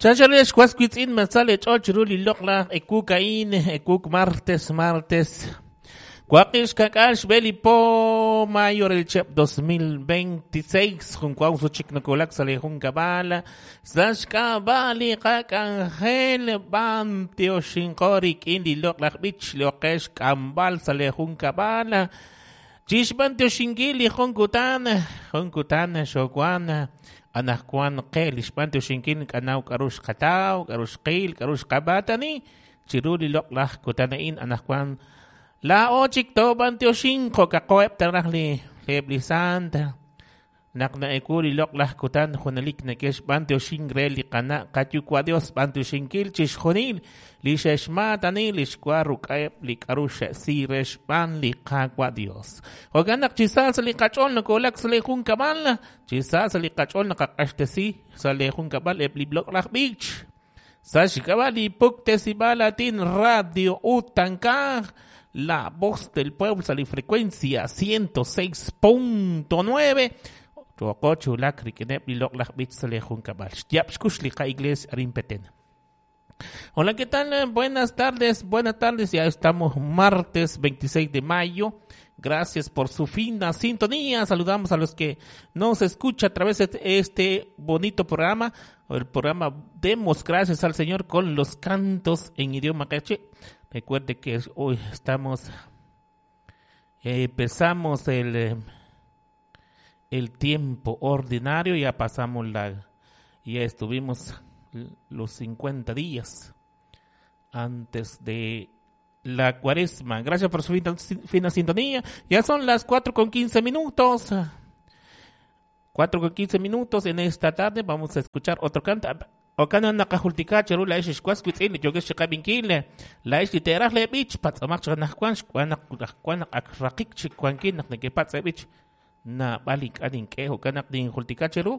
Chanchal xwas wiitz'in masal leech'ool chiru li loq'laj ewuuk a'in, ewuuk martes, martes. Waqib' xka'k'aal xb'e li po mayo re li chihab' 2026, jun waw suchik nakuwulak sa' li junkab'al, sa' xk'ab'a' li qak'anjel b'antioxinqo rik'in li loq'laj b'ich li oqe xk'amb'al sa' li junkab'al. Chixb'antioxinkil li jun kutan, jun kutan xowan anaqwan qe li xb'antioxinkil k'anaw k'aru xqataw, k'aru xqil, k'aru xqab'aatani chiru li loq'laj kutan a'in anaqwan laa'o chik toob'antioxin jo'kaqo'eb' taraj li eb' li sant naq na'ewu li loq'laj kutan junelik neke'xb'antioxin re li qana' qayuwa' Dios b'antioxinkil chixjunil li xe'xmaatani li xwa ruk'a'eb' li k'aru xe'si re xb'aan li Qaawa' Dios. Jo'kan naq chi sa sa' li qach'ool nokowulak sa' li junkab'al, chi sa sa' li qach'ool naqaq'axtesi sa' li junkab'al eb' li loq'laj b'ich. Sa' xk'ab'a' li puktesib'aal aatin Radio Utankaj, la voz del pueblo sa' li frecuencia 106.9. Choqo chulak rik'ineb' li loq'laj b'ich sa' li junkab'al. Xyab' xkux li qa-iglesia arin Petén. Hola, ¿qué tal? Buenas tardes, buenas tardes. Ya estamos martes 26 de mayo. Gracias por su fina sintonía. Saludamos a los que nos escuchan a través de este bonito programa, el programa Demos Gracias al Señor con los cantos en idioma caché. Recuerde que hoy estamos, empezamos el tiempo ordinario, ya pasamos ya estuvimos los 50 días antes de la cuaresma. Gracias por su fina sintonía. Ya son las 4:15. 4:15 en esta tarde. Vamos a escuchar otro canto. Okana nakajultika cheru la ix xwas witz'in li yokex chiqab'inkil la ix li teeraj le b'ich patz'amaq chaq najwan xwan naq najwan naq ak raqik chik wankin naq nekepatz' b'ich naab'al ink'a' nink'e jo'kan naq ninjultika cheru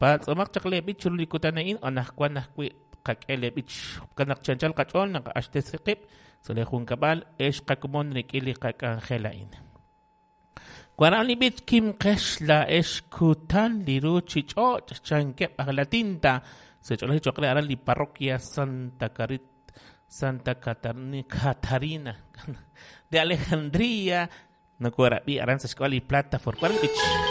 patz'amaq chaq le b'ich chiru li kutan a'in anajwan ajwi' qak'e le b'ich jo'kan naq chanchal qach'ool naq axtesi qib' sa' li junkab'al ex qakomon rik'in li qak'anjel a'in. Waran li b'ich kimqex la ex kutan li ruchich'och' chankeb' aj latinta se ch'olej choqre aran li parroquia Santa Santa Catarina de Alejandría no kuarabi aran sa xk'ab'a li plataforma. Waran b'ich.